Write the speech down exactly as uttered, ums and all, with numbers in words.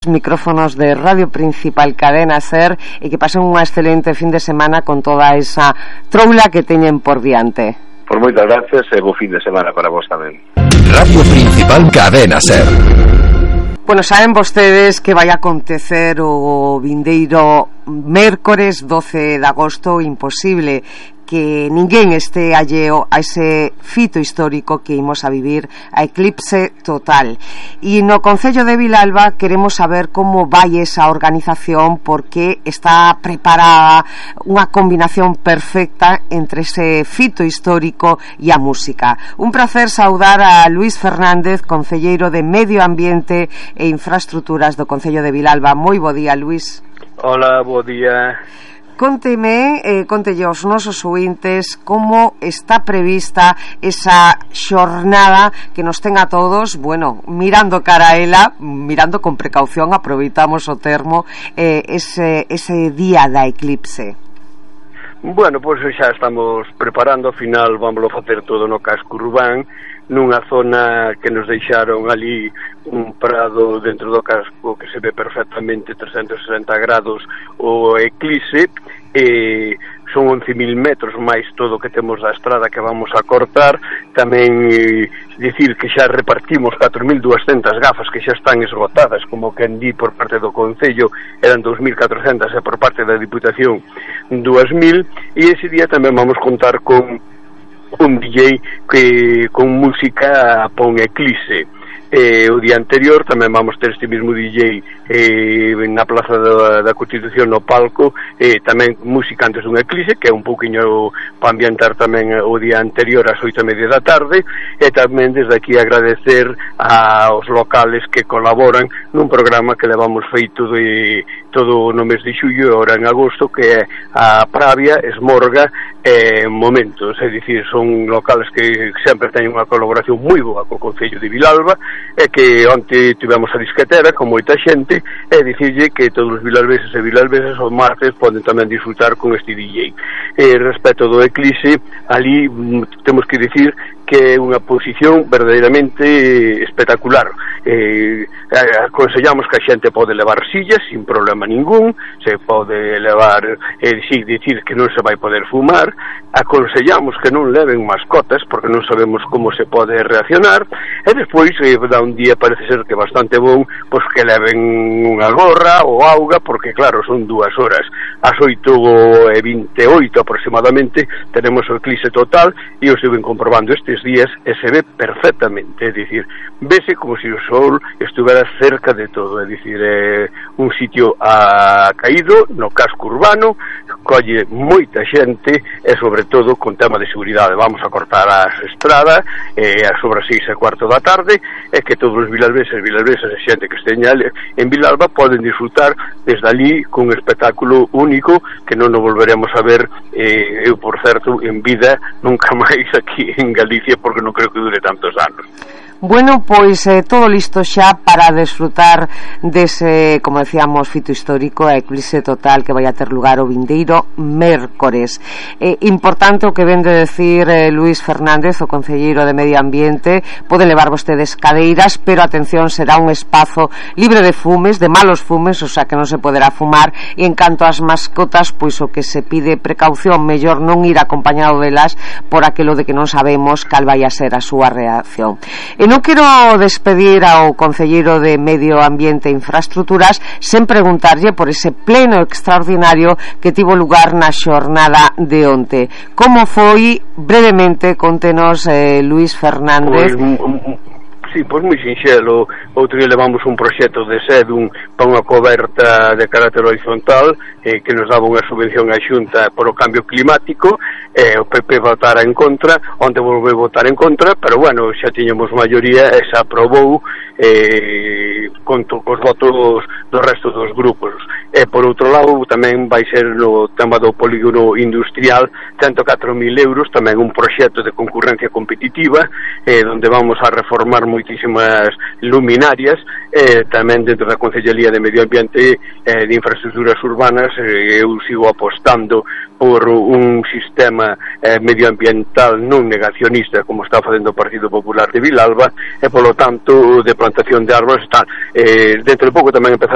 micrófonos de Radio Principal Cadena Ser e que pasen unha excelente fin de semana con toda esa troula que teñen por diante. Por moitas gracias e bo fin de semana para vos tamén. Radio Principal Cadena Ser. Bueno, saben vostedes que vai acontecer o vindeiro mércores doce de agosto, imposible que ninguén este alleo a ese fito histórico que imos a vivir, a eclipse total. E no Concello de Vilalba queremos saber como vai esa organización, porque está preparada unha combinación perfecta entre ese fito histórico e a música. Un placer saudar a Luís Fernández, concelleiro de Medio Ambiente e Infraestructuras do Concello de Vilalba. Moi bo día, Luís. Hola, bo día. Conteme, eh, contelle aos nosos ouvintes como está prevista esa xornada que nos ten a todos, bueno, mirando cara a ela, mirando con precaución, aproveitamos o termo, eh, ese, ese día da eclipse. Bueno, pois pues xa estamos preparando, ao final vamos a facer todo no casco urbán, nunha zona que nos deixaron ali un prado dentro do casco que se ve perfectamente trescentos e sesenta grados o eclipse, e son once mil metros máis todo o que temos da estrada que vamos a cortar. Tamén eh, dicir que xa repartimos catro mil duascentas gafas que xa están esgotadas, como que di por parte do Concello eran dous mil catrocentas e por parte da Diputación dúas mil, e ese día tamén vamos contar con un D J que con música pon eclipse. Eh, o día anterior tamén vamos ter este mesmo D J eh, na Plaza da, da Constitución no palco, eh, tamén música antes dun eclipse, que é un pouquiño para ambientar tamén o día anterior ás oito e media da tarde, e tamén desde aquí agradecer aos locales que colaboran nun programa que levamos feito de todo no mes de xullo e ahora en agosto, que é a Pravia, Esmorga e Momentos, é dicir, son locales que sempre teñen unha colaboración moi boa co Concello de Vilalba, e que onte tivemos a disquetera con moita xente, e dicirlle que todos os vilalbeses e vilalbesas o martes poden tamén disfrutar con este D J. E respecto do eclipse, ali temos que dicir que é unha posición verdadeiramente espectacular. Eh, aconsellamos que a xente pode levar sillas sin problema ningún, se pode levar, eh, si, dicir que non se vai poder fumar, aconsellamos que non leven mascotas porque non sabemos como se pode reaccionar, e despois eh, da un día parece ser que bastante bon, pois que leven unha gorra ou auga, porque claro, son dúas horas, ás oito e vinte e oito aproximadamente tenemos o eclipse total, e eu estuve comprobando estes días e se ve perfectamente, é dicir, vese como se o sol estuvera cerca de todo, é dicir, é un sitio a caído no casco urbano, colle moita xente e sobre todo con tema de seguridade. Vamos a cortar as estradas eh, a sobre as seis e cuarto da tarde, e que todos os vilalbeses e vilalbesas e xente que esteña en Vilalba poden disfrutar desde ali cun espectáculo único que non nos volveremos a ver, eh, eu por certo en vida nunca máis aquí en Galicia, porque non creo que dure tantos anos. Bueno, pois eh, todo listo xa para desfrutar dese, como decíamos, fito histórico, a eclipse total que vai a ter lugar o vindeiro mércores. Eh, importante o que ven de decir eh, Luís Fernández, o concelleiro de Medio Ambiente, poden levar vostedes cadeiras, pero atención, será un espazo libre de fumes, de malos fumes, o sea que non se poderá fumar, e en canto ás mascotas, pois o que se pide precaución, mellor non ir acompañado delas por aquilo de que non sabemos cal vai a ser a súa reacción. E non quero despedir ao concelleiro de Medio Ambiente e Infraestructuras sen preguntarlle por ese pleno extraordinario que tivo lugar na xornada de onte. Como foi? Brevemente, contenos, eh, Luís Fernández. Pues, sí, pois moi sinxelo. Outro día levamos un proxecto de Sedum para unha coberta de carácter horizontal eh, que nos daba unha subvención á Xunta por o cambio climático, eh, o P P votara en contra, onde volveu votar en contra, pero bueno, xa tiñamos maioría e xa aprobou eh, con os votos do resto dos grupos. E por outro lado tamén vai ser no tema do polígono industrial cento e catro mil euros, tamén un proxecto de concurrencia competitiva eh, onde vamos a reformar moitísimas luminarias, eh, tamén dentro da Concellería de Medio Ambiente e eh, de Infraestructuras Urbanas. eh, eu sigo apostando por un sistema eh, medioambiental non negacionista como está facendo o Partido Popular de Vilalba, e polo tanto de plantación de árbores e tal. Eh, dentro de pouco tamén empezará